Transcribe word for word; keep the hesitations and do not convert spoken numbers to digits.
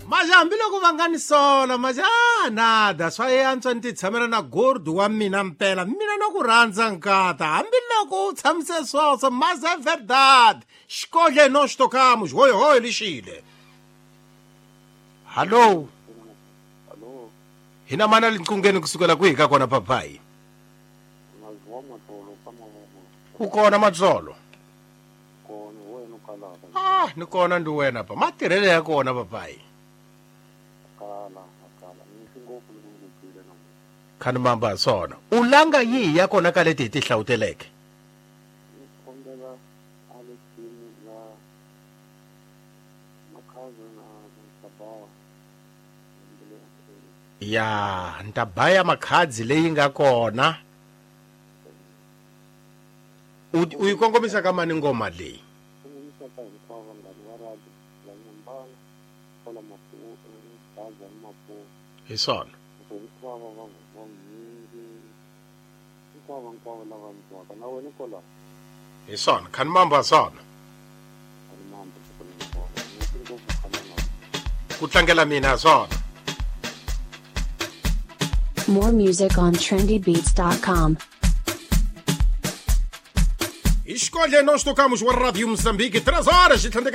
Maja hambiloko va nga ni sola maja ah, nada swa antswa ni ti tshamela na gordu wa mina mpela mina na ku rhandza nkata hambiloko u tshamise swoswo mas é verdade xikodle nós tocamos hoy hoy lixile. Hallo. Hallo. Hina mana liqungeni kusukela kwihi ka kona papai? Ku kona matsolo. Kona wena ukalaka. Ah, ni kona ndi wena pa. Matirhele ya kona papai. Kala, kala. Ni ngopfu ni ngopfu na. Khani mamba sona. Ulanga yihi ya kona ka leti hi ti hlawuteleke? Ni kombela Alexini na Makhaza na Ntabawa. Ya, ntabaya makhadzi leyi nga kona. U yi kongomisa ka mani ngoma leyi? Kongomisa ka hinkwavo vanghana va radio la Nyambana, kwala Maputo, Gaza ni Maputo. Hi swona. Hinkwavo va va mhingi, hinkwavo hinkwavo lava ni twaka na wena kwala. Hi swona, khani mamba swona. Khani mamba hinkwavo. Ni ngopfu khana na. Ku tlangela mina swona. More music on trendy beats dot com. Escolha, nós tocamos o Rádio Moçambique, três horas e trinta e quatro.